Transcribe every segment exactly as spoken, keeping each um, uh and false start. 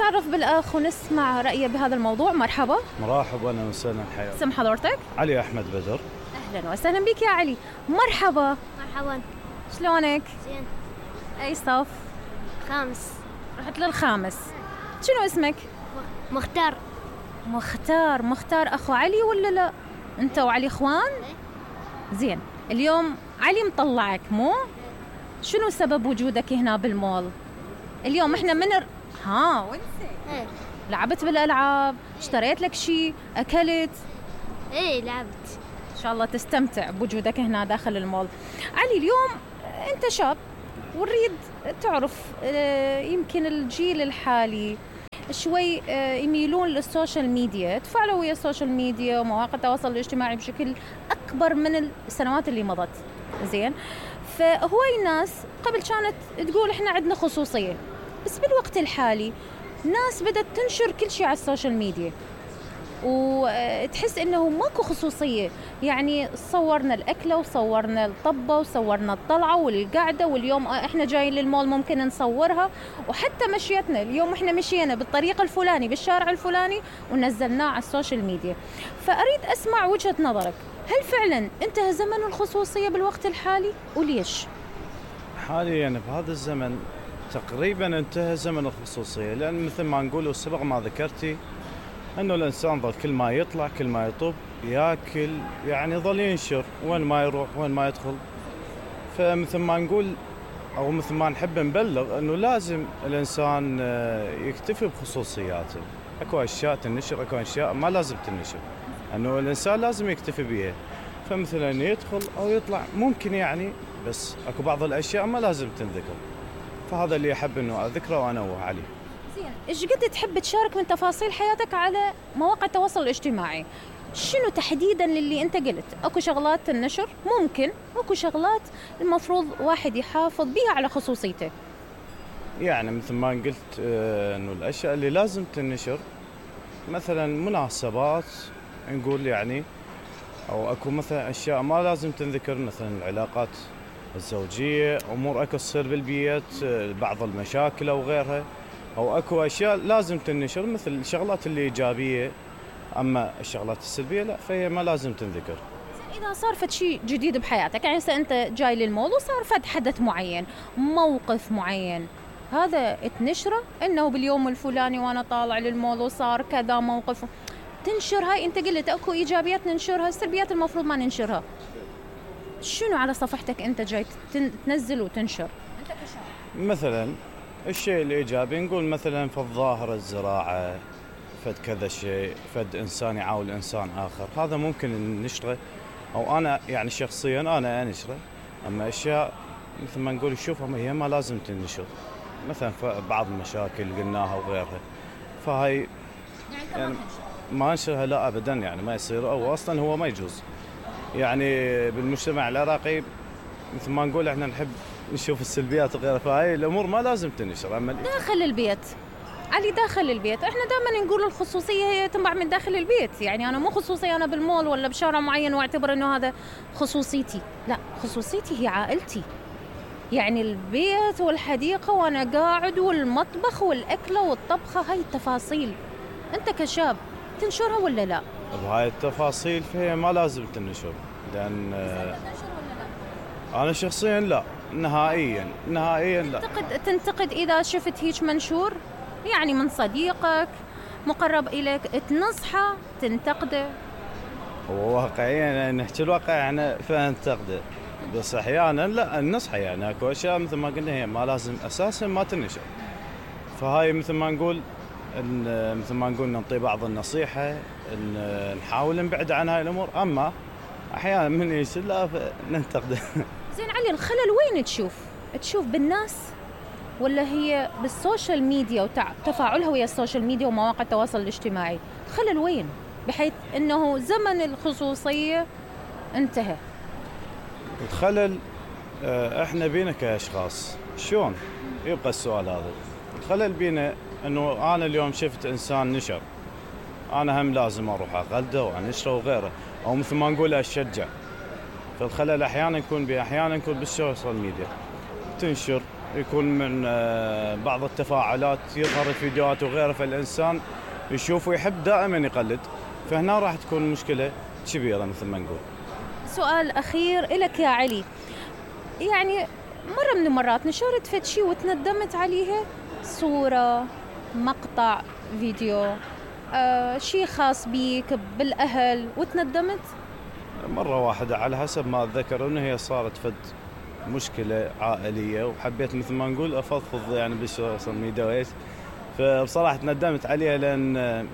نتعرف بالأخ ونسمع رأيه بهذا الموضوع. مرحبا. مرحبا أهلا وسهلا حياك. اسم حضرتك؟ علي أحمد بدر. أهلا وسهلا بك يا علي. مرحبا. مرحبا. شلونك؟ زين. أي صف؟ خامس. رحت للخامس. شنو اسمك؟ مختار. مختار. مختار أخو علي ولا لا؟ أنت وعلي إخوان؟ زين. اليوم علي مطلعك مو؟ شنو سبب وجودك هنا بالمول؟ اليوم احنا من ر... ها وانت ايه لعبت بالألعاب؟ اشتريت لك شيء؟ أكلت؟ ايه لعبت. إن شاء الله تستمتع بوجودك هنا داخل المول. علي اليوم أنت شاب ونريد تعرف يمكن الجيل الحالي شوي يميلون للسوشيال ميديا، تفاعلوا ويا السوشيال ميديا ومواقع التواصل الاجتماعي بشكل أكبر من السنوات اللي مضت. زين، فهواي الناس قبل كانت تقول إحنا عندنا خصوصية، بس بالوقت الحالي ناس بدأت تنشر كل شيء على السوشيال ميديا وتحس إنه ماكو خصوصية. يعني صورنا الأكلة وصورنا الطبة وصورنا الطلعة والقعدة، واليوم إحنا جايين للمول ممكن نصورها، وحتى مشيتنا اليوم إحنا مشينا بالطريقة الفلاني بالشارع الفلاني ونزلناه على السوشيال ميديا. فأريد أسمع وجهة نظرك، هل فعلا انتهى زمن الخصوصية بالوقت الحالي وليش؟ حاليا بهذا الزمن تقريبا انتهى زمن الخصوصية، لأن مثل ما نقول سبق ما ذكرتي أنه الإنسان ظل كل ما يطلع كل ما يطب ياكل، يعني ظل ينشر وين ما يروح وين ما يدخل. فمثل ما نقول أو مثل ما نحب نبلغ أنه لازم الإنسان يكتفي بخصوصياته. أكو أشياء تنشر أكو أشياء ما لازم تنشر، أنه الإنسان لازم يكتفي بيها. فمثلا يدخل أو يطلع ممكن يعني، بس أكو بعض الأشياء ما لازم تنذكر. فهذا اللي أحب أنه أذكره وأنوه عليه. زين، إيش قد تحب تشارك من تفاصيل حياتك على مواقع التواصل الاجتماعي؟ شنو تحديدا اللي أنت قلت؟ أكو شغلات تنشر ممكن، أكو شغلات المفروض واحد يحافظ بيها على خصوصيته. يعني مثل ما قلت أنه الأشياء اللي لازم تنشر مثلا مناسبات نقول يعني، أو أكو مثلا أشياء ما لازم تنذكر، مثلا العلاقات الزوجية، أمور أكو تصير بالبيت، بعض المشاكل أو غيرها، أو أكو أشياء لازم تنشر مثل الشغلات اللي إيجابية. أما الشغلات السلبية لا، فهي ما لازم تنذكر. إذا صار فد شيء جديد بحياتك، يعني أنت جاي للمول وصار فد حدث معين، موقف معين، هذا تنشره إنه باليوم الفلاني وأنا طالع للمول وصار كذا موقف، تنشر هاي. أنت قلت أكو إيجابيات ننشرها، السلبيات المفروض ما ننشرها. شنو على صفحتك أنت جاي تنزل وتنشر؟ أنت كشاب مثلا الشيء الإيجابي نقول مثلا في الظاهرة الزراعة، فد كذا شيء، فد إنسان يعاون إنسان آخر، هذا ممكن نشره، أو أنا يعني شخصيا أنا أنشره. أما أشياء مثل ما نقول شوفها هي ما لازم تنشر، مثلا بعض المشاكل قلناها وغيرها، فهاي يعني ما انشرها لا أبدا، يعني ما يصير، أو أصلا هو ما يجوز. يعني بالمجتمع العراقي مثل ما نقول احنا نحب نشوف السلبيات وغيرها، فهاي الأمور ما لازم تنشر. أما داخل البيت علي، داخل البيت احنا دائما نقول الخصوصية هي تنبع من داخل البيت. يعني أنا مو خصوصية أنا بالمول ولا بشارع معين واعتبر إنه هذا خصوصيتي، لا، خصوصيتي هي عائلتي، يعني البيت والحديقة وأنا قاعد والمطبخ والأكلة والطبخة، هاي التفاصيل أنت كشاب تنشرها ولا لا؟ بهاي التفاصيل فهي ما لازم تنشر، لأن أنا شخصيا لا، نهائيا نهائيا لا. تنتقد تنتقد إذا شفت هيك منشور يعني من صديقك مقرب إليك، تنصحه تنتقده؟ هو واقعيا نحكي الواقع يعني فننتقده، بس أحيانا لا النصح، يعني أكو أشياء مثل ما قلنا هي ما لازم أساسا ما تنشر. فهاي مثل ما نقول إن مثل ما نقول نعطي بعض النصيحة، إن نحاول نبعد عن هاي الأمور. أما أحيانا من يصير لا ننتقده. زين علي، الخلل وين تشوف؟ تشوف بالناس ولا هي بالسوشيال ميديا وتفاعلها ويا السوشيال ميديا ومواقع التواصل الاجتماعي؟ خلل وين بحيث أنه زمن الخصوصية انتهى؟ الخلل احنا بينا كأشخاص، شلون يبقى السؤال هذا؟ الخلل بينا انه انا اليوم شفت انسان نشر، انا هم لازم اروح اقلده وانشره وغيره، او مثل ما نقول اشجع. فالخلل احيانا يكون بي احيانا يكون بالسوشيال ميديا، تنشر يكون من آه، بعض التفاعلات يظهر الفيديوهات وغيره، فالإنسان يشوف ويحب دائما يقلد، فهنا راح تكون مشكلة كبيرة مثل ما نقول. سؤال أخير إلك يا علي، يعني مرة من المرات نشرت فد شي وتندمت عليها؟ صورة، مقطع فيديو، آه، شي خاص بيك بالأهل وتندمت؟ مرة واحدة على حسب ما أتذكر إنه هي صارت فد مشكلة عائلية، وحبيت مثل ما نقول أفضفض يعني بالسوشيال ميديا وإيش، فبصراحة تندمت عليها لأن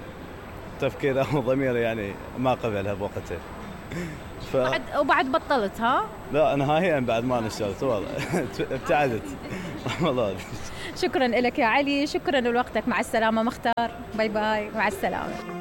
تفكير أو ضمير يعني ما قبلها بوقتها. ف... بعد وبعد بطلت ها؟ لا نهائيا بعد ما نشرت والله ابتعدت والله. شكرا لك يا علي، شكرا لوقتك، مع السلامة مختار، باي باي، مع السلامة.